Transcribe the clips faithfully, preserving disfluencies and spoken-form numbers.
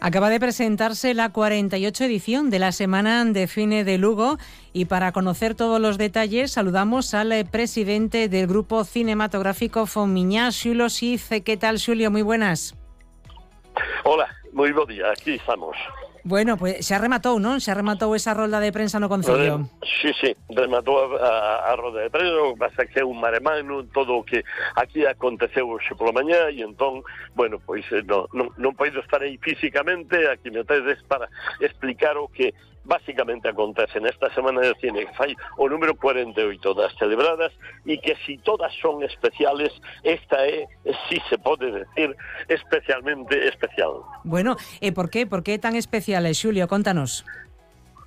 Acaba de presentarse la cuarenta y ocho edición de la Semana de Cine de Lugo y para conocer todos los detalles saludamos al presidente del Grupo Cinematográfico Fomiñá, Xulio Siz. ¿Qué tal, Xulio? Muy buenas. Hola, moi bo día, aquí estamos. Bueno, pues xa rematou, non? Xa rematou esa rolda de prensa no Concello. Sí, sí, rematou a, a rolda de prensa, pasa que é un maremano, todo o que aquí aconteceu hoxe pola mañá, e entón, bueno, pois non, non, non podo estar aí físicamente, aquí me tedes para explicar o que básicamente acontece nesta Semana de Cine, que fai o número cuarenta e oito das celebradas, e que si todas son especiales, esta é, si se pode decir, especialmente especial. Bueno, e por qué? Por qué tan especial, Xulio? Contanos.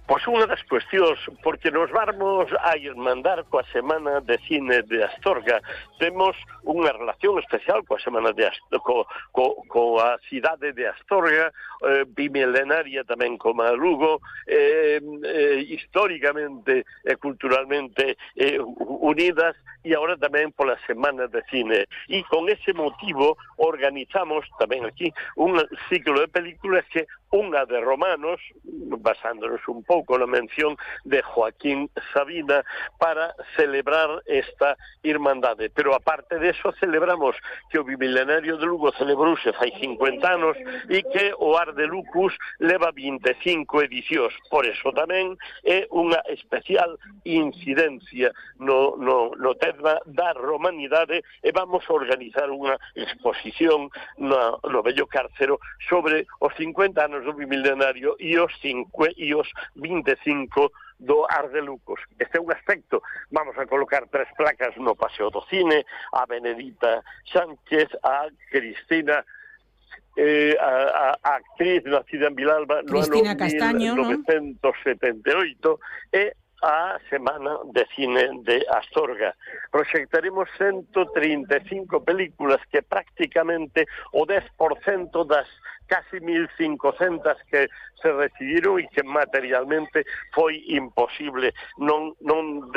Pois unha das cuestións, porque nos vamos a irmandar coa Semana de Cine de Astorga. Temos unha relación especial coa Semana de Astorga, co, co, coa cidade de Astorga, eh, bimilenaria tamén como a Lugo, eh, eh, históricamente e culturalmente eh, unidas, e agora tamén pola Semana de Cine. E con ese motivo organizamos tamén aquí un ciclo de películas que unha de romanos, basándonos un pouco na mención de Joaquín Sabina, para celebrar esta irmandade. Pero aparte de eso celebramos que o bimilenario de Lugo celebrouse fai cincuenta anos e que o Ar de Lucus leva vinte e cinco edicións. Por eso tamén é unha especial incidencia no, no, no tema da romanidade, e vamos a organizar unha exposición no, no Bello Cárcero sobre os cincuenta anos do bimilenario e os, cinco, e os vinte e cinco do Ar de Lucos. Este é un aspecto. Vamos a colocar tres placas no Paseo do Cine, a Benedita Sánchez, a Cristina, eh, a, a, a actriz nacida en Vilalba no ano Castaño, mil novecentos setenta e oito, e a Semana de Cine de Astorga. Proxectaremos ciento trinta e cinco películas, que prácticamente o dez por cento das casi mil cincocentas que se recibiron e que materialmente foi imposible non, non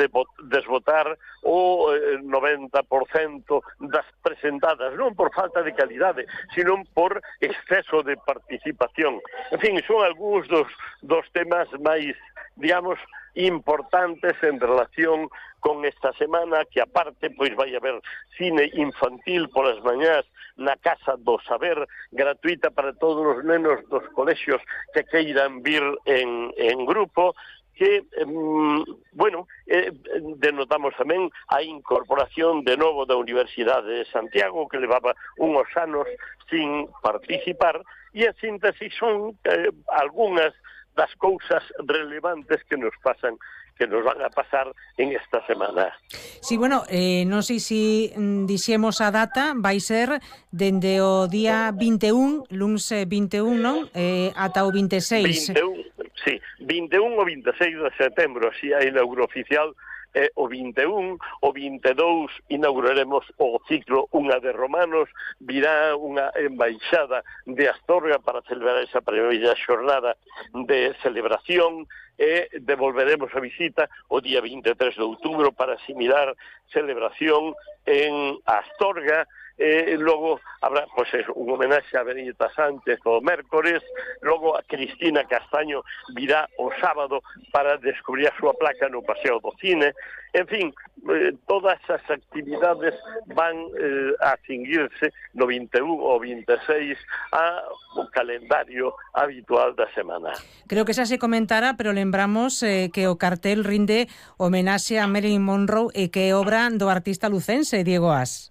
desbotar o noventa por cento das presentadas, non por falta de calidade, sino por exceso de participación. En fin, son algúns dos, dos temas máis, digamos, importantes en relación con esta semana, que aparte pois vai haber cine infantil polas mañás na Casa do Saber, gratuita para todos os nenos dos colexios que queiran vir en, en grupo, que, um, bueno, eh, denotamos tamén a incorporación de novo da Universidade de Santiago, que levaba unhos anos sin participar, e en síntesis son eh, algunhas das cousas relevantes que nos pasan, que nos van a pasar en esta semana. Sí, bueno, eh, non sei se dixemos a data, vai ser dende o día vinte e un, luns vinte e un, non? Eh, ata o vinte e seis. vinte e un, sí, vinte e un ou vinte e seis de setembro, así a inauguro oficial. Eh, o vinte e un, o vinte e dous inauguraremos o ciclo Unha de Romanos, virá unha embaixada de Astorga para celebrar esa primeira xornada de celebración, e devolveremos a visita o día vinte e tres de outubro para asimilar celebración en Astorga. Eh, logo habrá pues, un homenaxe a Benedita Sánchez o mércores, logo a Cristina Castaño virá o sábado para descubrir a súa placa no Paseo do Cine. En fin, eh, todas as actividades van eh, a cinguirse no vinte e un ou vinte e seis ao calendario habitual da semana. Creo que xa se comentara, pero lembramos eh, que o cartel rinde homenaxe a Marilyn Monroe e que é obra do artista lucense Diego As.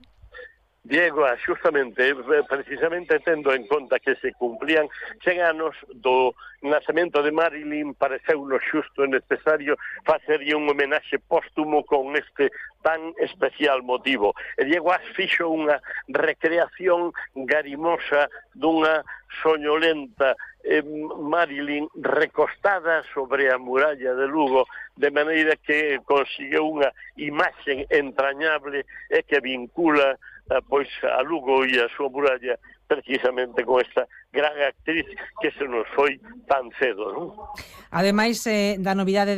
Diego, xustamente, precisamente tendo en conta que se cumplían cen anos do nacemento de Marilyn, pareceunos xusto e necesario facerlle un homenaxe póstumo con este tan especial motivo. E Diego As fixo unha recreación garimosa dunha soñolenta eh, Marilyn recostada sobre a muralla de Lugo, de maneira que conseguiu unha imaxe entrañable e que vincula pois a Lugo e a súa muralla precisamente con esta gran actriz que se nos foi tan cedo, non? Ademais eh, da novidade de